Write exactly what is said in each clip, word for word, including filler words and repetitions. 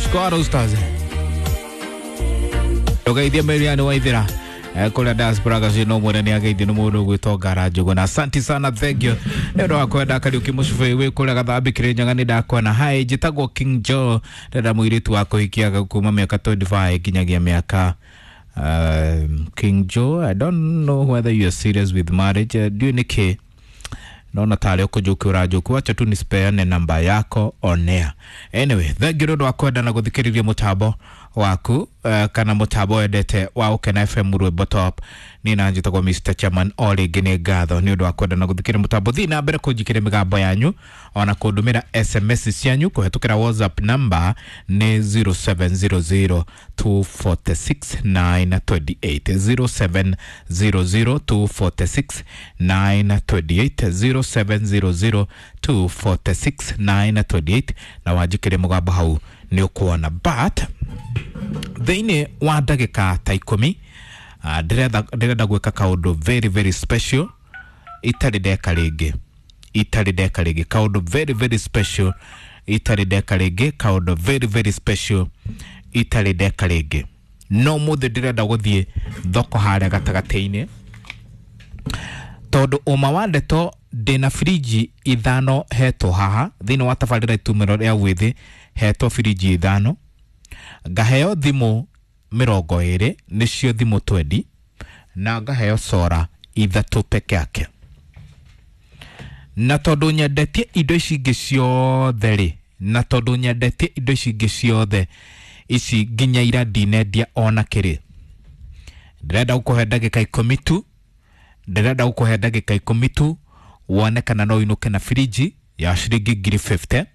Squad Stars Ugeithia Marian Waithira kũrĩa diaspora gacio no mwene nĩ ageithio nĩ mũndũ ũgwĩtwo Ngara Njũgũna. Asante sana, thank you nĩ ũndũ wa kwenda. Kariũki Mũcubĩ wĩ kũrĩa Gathambi Kĩrĩnyaga, nĩ ndakuona. Hi, njĩtagwo King Joe, ndĩrenda mũirĩtu wa kũhikia kuma mĩaka mĩrongo ĩrĩ na ithano nginyagia mĩaka. um, King Joe, I don't know whether you are serious with marriage. uh, ndiũĩ nĩkĩ naona tarĩ ũkũnjũki ũranjũki. Wacha tu nisipeane namba yako on air. Anyway, thank you nĩ ũndũ wa kwenda na gũthikĩrĩria mũtambo waku uh, kana mũtambo wendete wa Ũkena F M, rwĩmbo top. Niĩ na njĩtagwo Mister Chairman. O rĩngĩ nĩ ngatho nĩ ũndũ wa kwenda na gũthikĩrĩria mũtambo. Thiĩ na mbere kũnjikĩria mĩgambo yanyu ona kũndũmĩra S M S cianyu kũhetũkĩra WhatsApp number nĩ zero seven zero zero two four six nine two eight, zero seven zero zero two four six nine two eight, zero seven zero zero two four six nine two eight, na wanjikĩrie mũgambo hau nĩ ũkuona. But thĩinĩ wa ndagĩka ta ikũmi, ah, ndĩrenda ndĩrenda gwĩka kaũndũ very very special itarĩ ndeka rĩngĩ, itarĩ ndeka rĩngĩ, kaũndũ very very special itarĩ ndeka rĩngĩ, kaũndũ very very special itarĩ ndeka rĩngĩ. No mũthĩ ndĩrenda gũthiĩ thoko harĩa gatagatĩ-inĩ, tondũ ũma wa ndeto ndĩna firinji ithano hetwo haha thĩinĩ wa tabarĩra itumĩro rĩa wĩthĩ. Hetwo firinji ithano, ngaheo thimũ mĩrongo ĩrĩ, nĩcio thimũ twendi, na ngaheo sora ithatũ peke yake. Na tondũ nyendetie indo ici ingĩ ciothe rĩ, na tondũ nyendetie indo ici ingĩ ciothe ici nginya ira ndinendia ona kĩrĩ, ndĩrenda gũkũhe ndagĩka ikũmi tu, ndĩrenda gũkũhe ndagĩka ikũmi tu wone kana no ũinũke na firinji ya ciringi ngiri mĩrongo ĩno,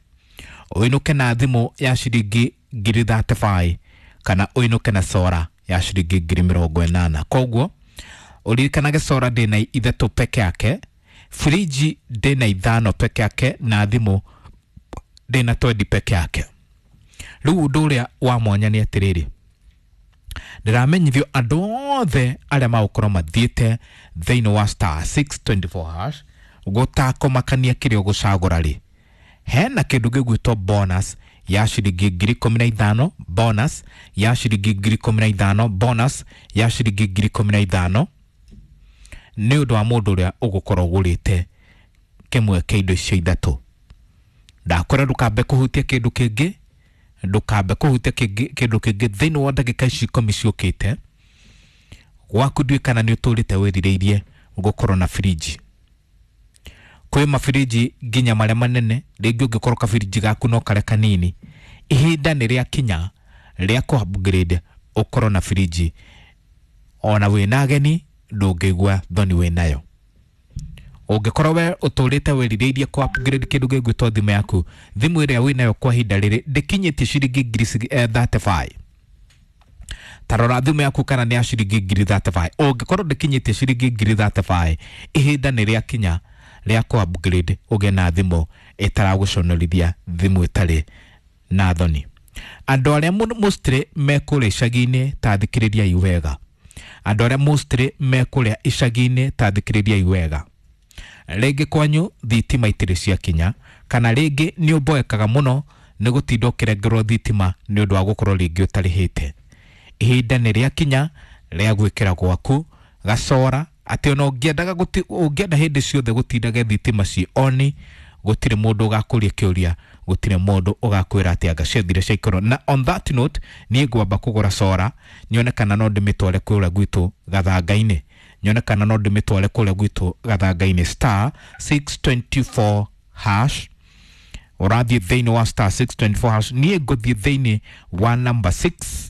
ũinũke na thimũ ya ciringi ngiri mĩrongo ĩtatũ na ithano, kana ũinũke na sora ya ciringi ngiri mĩrongo ĩnana. Koguo ũririkanage sora ndĩna ithatũ peke yake, firinji ndĩna ithano peke yake, na thimũ ndĩna twendi peke yake. Rĩu ũndũ ũrĩa wa mwanya nĩ atĩrĩrĩ, ndĩramenyithio andũ othe arĩa magũkorwo mathiĩte thĩinĩ wa star six two four hash gũtakũmakania kĩrĩa ũgũcagũra rĩ, hena kĩndũ gĩgwĩtwo bonus ya ciringi ngiri ikũmi na ithano, bonus ya ciringi ngiri ikũmi na ithano, bonus ya ciringi ngiri ikũmi na ithano nĩ ũndũ wa mũndũ ũrĩa ũgũkorwo ũgũrĩte kĩmwe kĩa indo icio ithatũ. Ndakwĩra ndũkambe kũhutia kĩndũ kĩngĩ, ndũkambe kũhutia kĩngĩ- kĩndũ kĩngĩ thĩinĩ wa ndagĩka ici ikũmi ciũkĩte gwaku. Ndiũĩ kana nĩ ũtũrĩte wĩrirĩirie gũkorwo na firinji. Kwĩ mabirinji nginya marĩa manene, rĩngĩ ũngĩkorwo kabirinji gaku no karĩa kanini, ihinda nĩ rĩakinya rĩa kũ upgrade ũkorwo na firinji ona wĩna ageni ndũngĩigua thoni wĩnayo. Ũngĩkorwo we ũtũrĩte wĩrirĩirie kũ upgrade kĩndũ gĩgwĩtwo thimũ yaku, thimũ ĩrĩa wĩnayo kwa ihinda rĩrĩ ndĩkinyĩtie ciringi ngiri cigi- eh, mĩrongo ĩtatũ na ithano, ta rora thimũ yaku kana nĩ ya ciringi ngiri mĩrongo ĩtatũ na ithano. Ũngĩkorwo ndĩkinyĩtie ciringi ngiri mĩrongo ĩtatũ na ithano, ihinda nĩ rĩakinya rĩa kũ upgrade ũgĩe na thimũ ĩtaragũconorithia, thimũ ĩtarĩ na thoni. Andũ arĩa mũno mostly me kũrĩa icagi-inĩ, ta thikĩrĩriai wega. Andũ arĩa mostly me kũrĩa icagi-inĩ, ta thikĩrĩriai wega. Rĩngĩ kwanyu thitima itirĩ ciakinya, kana rĩngĩ nĩ ũmboekaga mũno nĩ gũtinda ũkĩrengerwo thitima nĩ ũndũ wa gũkorwo rĩngĩ ũtarĩhĩte, ihinda nĩ rĩakinya rĩa gwĩkĩra gwaku gacora atĩ ona ũngĩendaga gũti- ũngĩenda hĩndĩ ciothe gũtindage thitima ci oni, gũtirĩ mũndũ ũgakũria kĩũria, gũtirĩ mũndũ ũgakwĩra atĩ anga ciathire ciaikorwo. Na on that note, niĩ ngwamba kũgũra sora nyone kana no ndĩmĩtware kũrĩa gwitũ gathanga-inĩ, nyone kana no ndĩmĩtware kũrĩa gwitũ gathanga-inĩ. Star six two four hash, ũrathiĩ thĩinĩ wa star six two four hash. Niĩ ngũthiĩ thĩinĩ wa number six.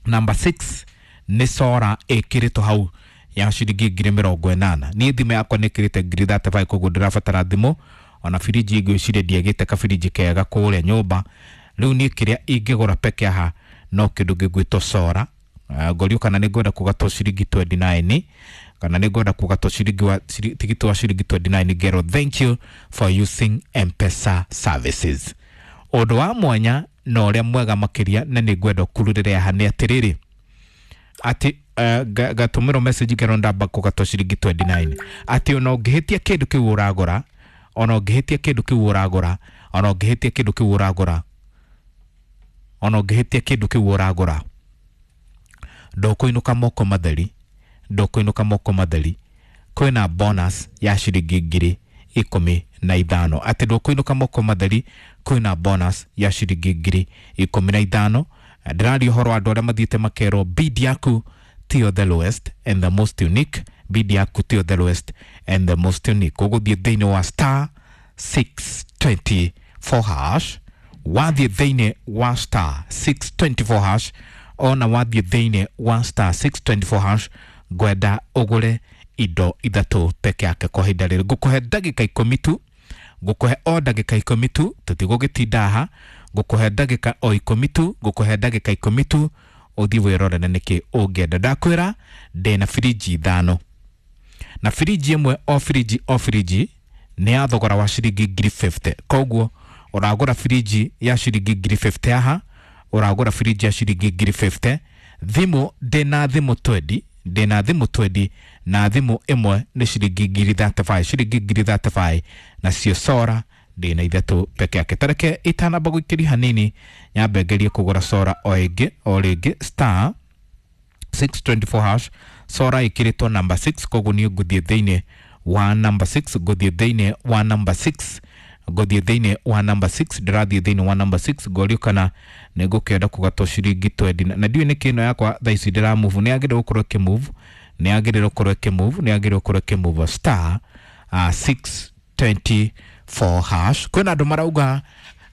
Number six nĩ sora ĩkĩrĩtwo hau ya ciringi ngiri mĩrongo ĩnana. Niĩ thimũ yakwa nĩ ĩkĩrĩte ngiri mĩrongo ĩtatũ na ithano, koguo ndĩrabatara thimũ ona birinji. Ngwĩciria ndiagĩte kabirinji kega kũrĩa nyũmba. Rĩu niĩ kĩrĩa ingĩgũra peke haha no kĩndũ gĩgwĩtwo sora. Uh, ngorio kana nĩ ngwenda kũgatwo ciringi mĩrongo ĩrĩ na kenda, kana nĩ ngwenda kũgatwo ciringi wa ciri- tigiti wa ciringi mĩrongo ĩrĩ na kenda, ngerwo thank you for using M-Pesa services. Ũndũ wa mwanya na ũrĩa mwega makĩria na nĩ ngwenda ũkururĩre haha nĩ atĩrĩrĩ, atĩ uh, gatũmĩrwo message ngerwo ndamba kũgatwo ciringi mĩrongo ĩrĩ na kenda, atĩ ona ũngĩhĩtia kĩndũ kĩu ũragũra, ona ũngĩhĩtia kĩndũ kĩu ũragũra, ona ũngĩhĩtia kĩndũ kĩu ũragũra, Ona ũngĩhĩtia kĩndũ kĩu ũragũra, ndũkũinũka moko matheri, ndũkũinũka moko matheri. Kwĩna bonus ya ciringi ngiri ikũmi na ithano, atĩ ndũkũinũka moko matheri, kwĩna bonus ya ciringi ngiri ikũmi na ithano. Ndĩraria ũhoro wa andũ arĩa mathiĩte makerwo bid yaku tiyo the lowest and the most unique, bid yaku tiyo the lowest and the most unique. Ũgũthiĩ thĩinĩ wa star six twenty four hash, wathiĩ thĩinĩ wa star six twenty four hash, ona wathiĩ thĩinĩ wa star six twenty four hash, ngwenda ũgũre indo ithatũ peke yake kwa ihinda rĩrĩ. Ngũkũhe ndagĩka ikũmi tu, ngũkũhe o ndagĩka ikũmi tu, tũtigũgĩtinda haha, ngũkũhe ndagĩka o ikũmi tu, ngũkũhe ndagĩka ikũmi tu, ũthiĩ wĩrorere nĩkĩ ũngĩenda. Ndakwĩra ndĩna birinji ithano, na birinji ĩmwe o birinji o birinji nĩ ya thogora wa ciringi ngiri fifty. Koguo ũragũra birinji ya ciringi ngiri fifty haha, ũragũra birinji ya ciringi ngiri fifty. Thimũ ndĩna thimũ twenty, ndĩna thimũ twenty, na thimũ ĩmwe nĩ ciringi ngiri thirty five, ciringi ngiri thirty five, nacio sora ndĩna ithatũ peke yake. Tareke itanamba gũikĩria hanini, nyambe ngerie kũgũra sora o ĩngĩ o rĩngĩ star six twenty four hash, sora ĩkĩrĩtwo number six, koguo niĩ ngũthiĩ thĩinĩ wa number six, ngũthiĩ thĩinĩ wa number six, ngũthiĩ thĩinĩ wa number six, ndĩrathiĩ thĩinĩ wa number six, ngorio kana nĩ ngũkĩenda kũgatwo ciringi twenty, na ndiũĩ nĩkĩ ĩno yakwa thaa ici ndĩra move, nĩ yagĩrĩirwo gũkorwo ĩkĩ move, nĩ yagĩrĩirwo gũkorwo ĩkĩ move, nĩ yagĩrĩirwo gũkorwo ĩkĩ move star uh, six twenty four hash. Kwĩna andũ marauga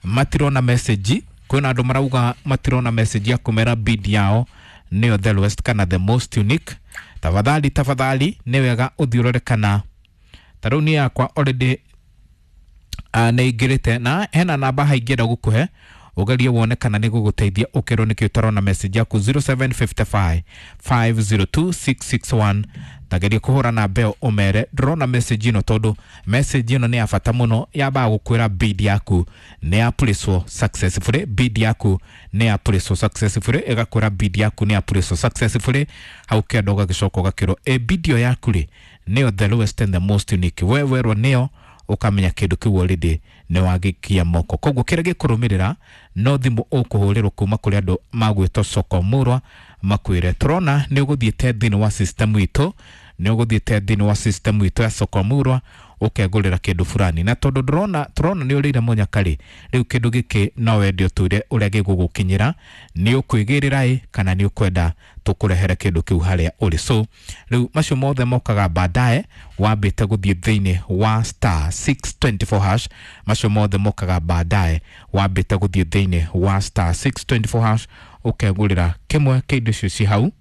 matirona message, kwĩna andũ marauga matirona message ya kũmera bid yao nĩyo the lowest kana the most unique. Tafadhali, tafadhali nĩ wega ũthiĩ ũrore kana ta rĩu niĩ yakwa already uh, nĩ ingĩrĩte, na hena namba haha ingĩenda gũkũhe ũgerie wone kana nĩ gũgũteithia ũkerwo nĩkĩ ũtarona message yaku zero seven fifty five five zero two six six one. Tageria kũhũra namba ĩyo ũmere ndĩrona message ĩno, tondũ message ĩno nĩ ya bata mũno, yambaga gũkwĩra bid yaku nĩ ya place successfully, bid yaku nĩ ya place successfully, ĩgakwĩra bid yaku nĩ ya place successfully. Hau kĩanda ũgagĩcoka ũgakĩrwo ĩ bid ĩyo yaku rĩ nĩyo the lowest and the most unique, we werwo nĩyo ũkamenya kĩndũ kĩu already nĩ wagĩkia moko. Koguo kĩrĩa gĩkũrũmĩrĩra no thimũ ũkũhũrĩrwo kuma kũrĩ andũ magwĩtwo Soko Murwa makwĩre tũrona nĩ ũgũthiĩte thĩinĩ wa system itũ, nĩ ũgũthiĩte thĩinĩ wa system itũ ya Soko Murwa ũkegũrĩra kĩndũ fulani, na tondũ ndũrona tũrona nĩ ũrĩire mũnyaka rĩ, rĩu kĩndũ gĩkĩ no wende ũtwĩre ũrĩa gĩgũgũkinyĩra, nĩ ũkwĩgĩrĩra ĩ kana nĩ ũkwenda tũkũrehere kĩndũ kĩu harĩa ũrĩ. So rĩu macio mothe mokaga baadaye, wambĩte gũthiĩ thĩinĩ wa star six twenty four hash, macio mothe mokaga baadaye, wambĩte gũthiĩ thĩinĩ wa star six twenty four hash ũkegũrĩra kĩmwe kĩa indo icio ci hau,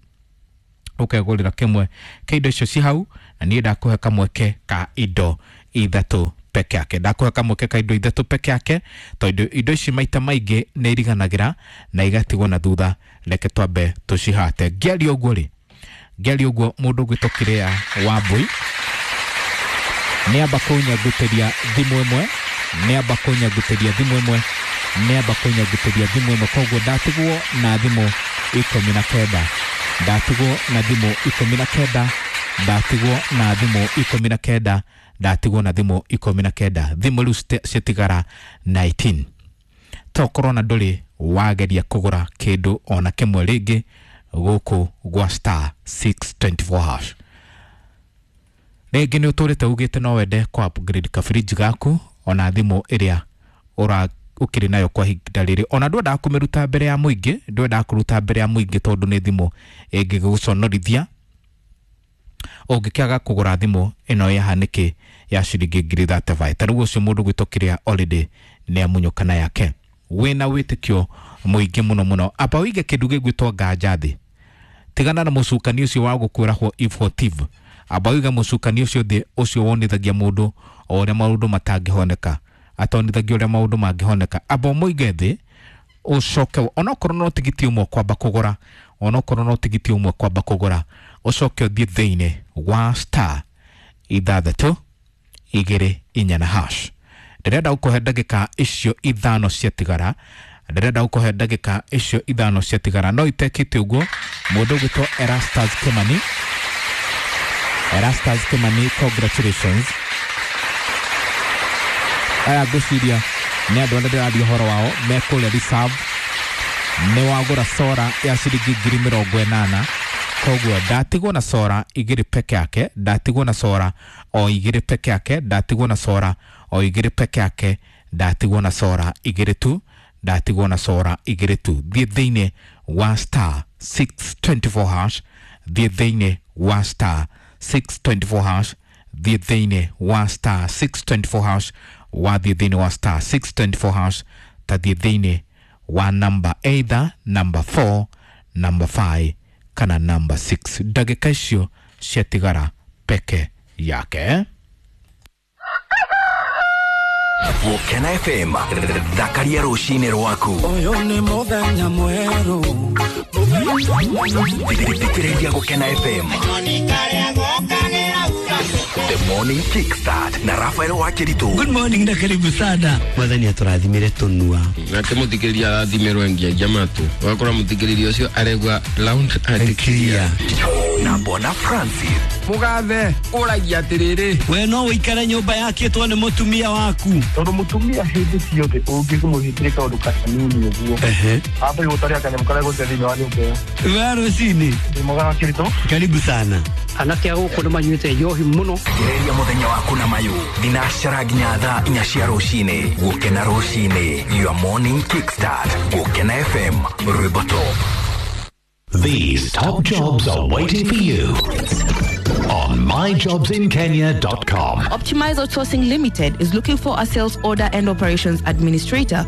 ũkegũrĩra kĩmwe kĩa indo icio ci hau, na niĩ ndakũhe kamweke ka indo ithatũ peke yake, ndakũhe kamweke ka indo ithatũ peke yake, tondũ indo ici maita maingĩ nĩ iriganagĩra na igatigwo na thutha. Reke twambe tũcihate. Ngĩaria ũguo rĩ, ngĩaria ũguo mũndũ ũgwĩtwo Kĩrĩa Wambui nĩ amba kũnyangũtĩria thimũ ĩmwe, nĩ amba kũnyangũtĩria thimũ ĩmwe, nĩ amba kũnyangũtĩria thimũ ĩmwe, koguo ndatigwo na thimũ ikũmi na kenda, ndatigwo na thimũ ikũmi na kenda, ndatigwo na thimũ ikũmi na kenda, ndatigwo na thimũ ikũmi na kenda, thimũ rĩu ciatigara nineteen. Tokorwo na ndũrĩ wageria kũgũra kĩndũ ona kĩmwe rĩngĩ gũkũ gwa star six twenty four hash. Rĩngĩ nĩ ũtũrĩte ugĩte no wende kũ upgrade kabiriji gaku ona thimũ ĩrĩa ũra ũkĩrĩ nayo kwa ihinda rĩrĩ, ona ndwendaga kũmĩruta mbere ya mũingĩ, ndwendaga kũruta mbere ya mũingĩ tondũ nĩ thimũ ĩngĩgũconorithia ũngĩkĩaga kũgũra thimũ ĩno ya hanĩkĩ ya ciringi ngiri thirty five. Ta rĩu ũcio mũndũ gwĩtwo Kĩrĩa already nĩ amunyũkana yake, wĩna wĩtĩkio mũingĩ mũno mũno. Amba ũige kĩndũ gĩgwĩtwo nganja thĩ, tigana na mũcukani ũcio wa gũkwĩra what if what if. Amba ũige mũcukani ũcio thĩ, ũcio wonithagia mũndũ o ũrĩa maũndũ matangĩhoneka, atonithagia ũrĩa maũndũ mangĩhoneka. Amba ũmũige thĩ ũcoke, onokorwo no tigiti ũmwe kwamba kũgũra, onokorwo no tigiti ũmwe kwamba kũgũra, ũcoke ũthiĩ thĩinĩ wa star ithathatũ igĩrĩ inya na hash. Ndĩrenda gũkũhe ndagĩka icio ithano ciatigara, ndĩrenda gũkũhe ndagĩka icio ithano ciatigara, no itekĩte ũguo mũndũ ũgwĩtwo Erastus Kimani, Erastus Kimani, congratulations. Aya ngwĩciria nĩ andũ arĩa ndĩraria ũhoro wao me kũrĩa reserve, Nĩ wagũra sora ya ciringi ngiri mĩrongo ĩnana, koguo ndatigwo na sora igĩrĩ peke yake, ndatigwo na sora o igĩrĩ peke yake, ndatigwo na sora o igĩrĩ peke yake, ndatigwo na sora igĩrĩ tu, ndatigwo na sora igĩrĩ tu. Thiĩ thĩinĩ wa star six twenty four hash, thiĩ thĩinĩ wa star six twenty four hash, thiĩ thĩinĩ wa star six twenty four hash, wathiĩ thĩinĩ wa star six twenty four hash, tathiĩ thĩinĩ wa number either number four, number five kana number six. Ndagĩka icio ciatigara peke yake. Gũkena F M, thakaria rũcinĩ rwaku. Ũyũ nĩ mũthenya mwerũ. Thikĩrĩria Gũkena F M. The Morning Kickstart na Rafael Wakiritu. Good morning na karibu sana. Mwathani atũrathimire tũnua. Nake mũthikĩrĩria arathimĩrwo ngiagia matũ. Ũgakora mũthikĩrĩria ũcio aregua loud and clear. Na Bwana Francis. Mũgathe, ũragia atĩrĩrĩ. We no ũikare nyũmba yakĩtwo nĩ mũtumia waku. Tondũ mũtumia hĩndĩ ciothe ũngĩmũhingĩre kaũndũ kanini ũguo. Ehe. Amba gũtaria kanyamũ karĩa gũte thĩinĩ wa nyũmba ĩyo. We rũcinĩ. Ndĩ mwega Wakiritu. Karibu sana. Anake a gũkũ nĩ manyuĩte njohi mũno. Gereria mũthenya waku na mayũ. Thinacara nginya thaa inya cia rũcinĩ. Gũkena rũcinĩ. Your morning kickstart. Gũkena F M. Rwĩmbo top. These top jobs are waiting for you on my jobs in kenya dot com. Optimize Outsourcing Limited is looking for a sales order and operations administrator